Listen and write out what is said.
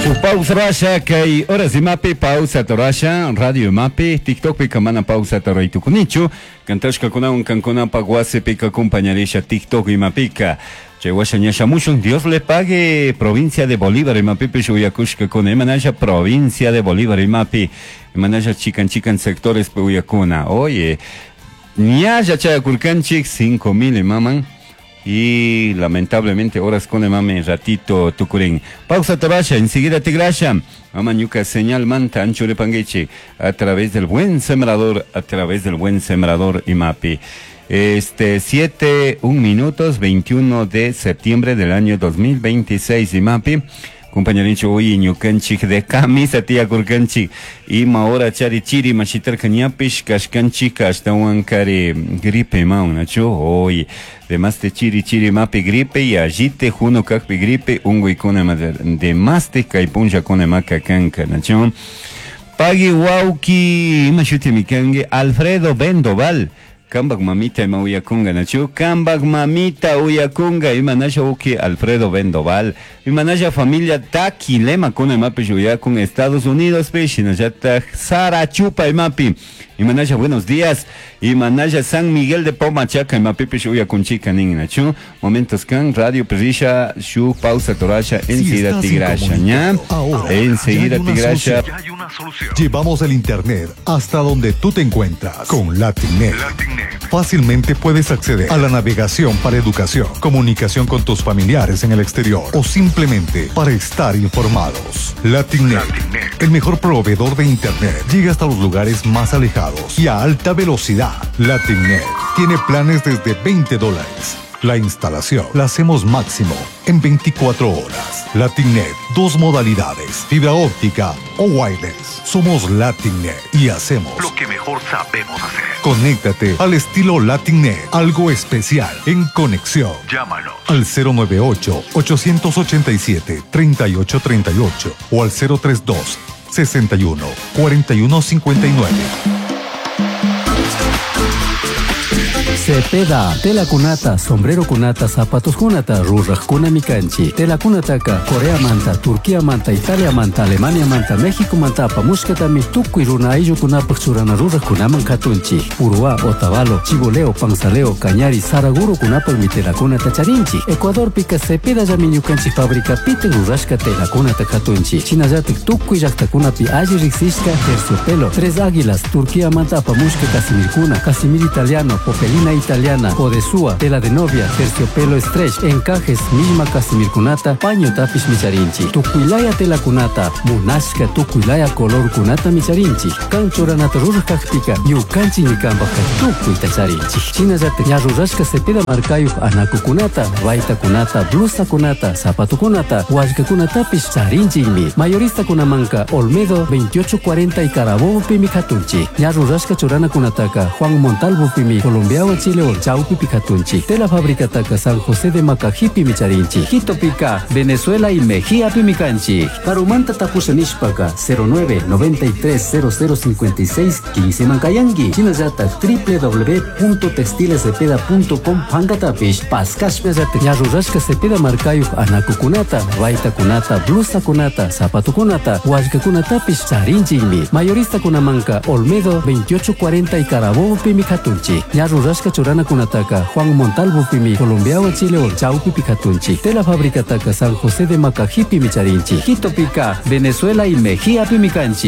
Shuk pausa rasha kay horas imapi pausa torasha radio imapi TikTokpika mana pausa toray tukunichu cantashkakunawan kankunapak wasipika acompañarisha TikTok imapika chay washa ña shamushun. Dios le pague, provincia de Bolívar imapipish uyakushkakuna. Imanasha provincia de Bolívar imapi, imanasha chikan chikan sectores uyakuna. Oye, ñalla chayakurkanchik 5000 imaman y lamentablemente horas con mame ratito tukurin. Pausa tabasha, enseguida tigrasha. Mama ñuka señal manta anchure panguichi a través del buen sembrador, a través del buen sembrador imapi. Este 7, 1 minutos, 21 de septiembre del año 2026 imapi. Compañerincho hoy ñukanchik de camisa tía kurkanchik ima hora chari chiri mashitarka ñapish kashkanchik ashtawan kari gripe ma nachu hoy demás de chiri chiri mapi gripe y allite juno kakpi gripe unguykuna demás de kay punllakuna maka kanka nachu pagui wawki ima shuti mikanki Alfredo Bendoval. Kambak mamita ima uyakunga nachu kambak mamita uyakunga ima nasha uki Alfredo Bendoval. Ima nasha familia Taquilema kuna imapish uyakun Estados Unidos pi shinallatak Sara Chupa imapi. Ima nasha buenos días. Ima nasha San Miguel de Pomachaca imapipish uyakunchika nin nachu momentos kan radio perrisha shu pausa torasha enseguida tigrasha ña. Enseguida tigrasha. Llevamos el internet hasta donde tú te encuentras con LatinNet. Fácilmente puedes acceder a la navegación para educación, comunicación con tus familiares en el exterior o simplemente para estar informados. LatinNet, el mejor proveedor de internet, llega hasta los lugares más alejados y a alta velocidad. LatinNet tiene planes desde $20. La instalación la hacemos máximo en 24 horas. LatinNet, dos modalidades, fibra óptica o wireless. Somos LatinNet y hacemos lo que mejor sabemos hacer. Conéctate al estilo LatinNet, algo especial en conexión. Llámanos al 098 887 3838 o al 032 61 41 59. Cepeda, tela kunata, sombrero kunata, zapatos kunata, ruraj kuna mikanchi. Tela kunataka, Corea manta, Turquía manta, Italia manta, Alemania manta, México manta, apamushkatami, tukuy runa ayllukunapaj churana ruraj kunaman katunchi. Uruá, Otavalo, Chiboleo, Panzaleo, Cañari, Saraguro kunapaj mi tela kunata charinchi. Ecuador pika Cepeda llami ñukanchik fábrica pite rurashka tela kunata katunchi. Shinallatik tukuy llaqtakunapi alli riqsishka terciopelo, Tres Águilas, Turquía manta apamushka casimirkuna, casimir italiano, popelina italiana, podesúa, tela de novia, terciopelo stretch, encajes, misma casimirkunata, paño tapish micharinchi. Tukuylaya tela kunata, munashka tukuylaya color kunata micharinchi. Kan churanata ruraj kakpika, ñukanchik ñikanpajka tukuyta charinchi. Shinallatak ña rurashka cepeda markayuq anakukunata, baytakunata, blusakunata, zapatukunata, wallkakunatapish charinchikmi. Mayoristakunamanka Olmedo 2840 y Carabobo pimi katunchi. Ña rurashka churanakunataka Juan Montalvo pimi Colombiawan Chile Chaupi pikatunchi. Tela fabricataka San José de Macajipi micharinchi. Quito pica, Venezuela y Mejía pimicanchi. Karumanta tapusha nishpaka 09 93 00 56 15 mankayangi. Shinallata www.textilescepeda.com pankatapish. Paskashpallata ña rurashka cepeda markayuq anakukunata, baytakunata, blusakunata, zapatukunata, wallkakunatapish charinchikmi. Mayoristakunamanka Olmedo 2840 y Carabobo pimi katunchi. Ña rurashka churanakunataka Juan Montalvo pimi Colombiawan Chile Chaupi pikatunchi. Tela fabricataka San José de Macajipi micharinchi. Quito pica, Venezuela y Mejía pimicanchi.